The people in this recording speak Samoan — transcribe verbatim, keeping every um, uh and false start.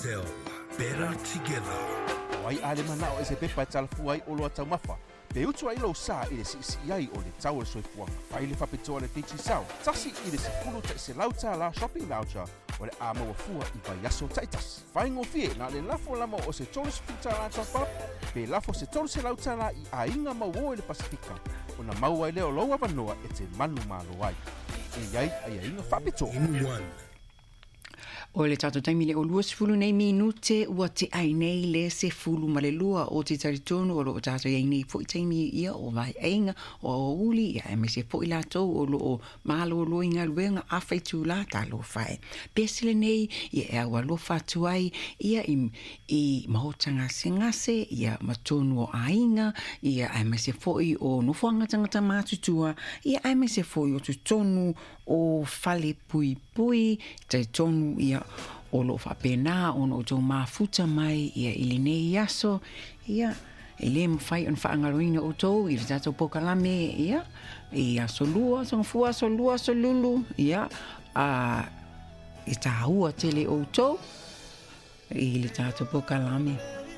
Tell. Better together. O ai a le manao e se pepa e talafua ai oloa taumafa, pe utu ai lou sa i le siisii ai o le tau o le soifuaga. Fai le faapitoa le Digicel, tasi i le sefulu ta'iselau tālā shopping voucher o le a maua fua i vaiaso ta'itasi. Faigofie na le lafo lama o se tolu sefulu tālā top up, pe lafo se tolu selau tālā i aiga mauō i le Pasifika, ona maua ai lea o lou avanoa e te manumalo ai. E i ai aiaiga faapitoa. In one. O le tatou taimi le o lua sefulu nei minute ua tea ai nei le sefulu ma le lua. O te talitonu o loo tatou iai nei fo'i taimi ia o vaeaiga o aoauli, ia aemaise fo'i latou o loo malōlō i galuega afaitulā. Talofa e, pese lenei ia e aualofa atu ai ia i, i maota gasegase ia ma tonu o aiga, ia aemaise fo'i o nofoaga tagata matutua, ia aemaise fo'i o totonu o fale puipui. Talitonu ia o loo faapena ona outou mafuta mai ia i lenei aso. Ia e lē mafai ona faagaloina outou i le tatou pokalame ia i aso lua, aso gafua, aso lua, aso lulu. Ia a e tāua tele outou i le tatou pokalame.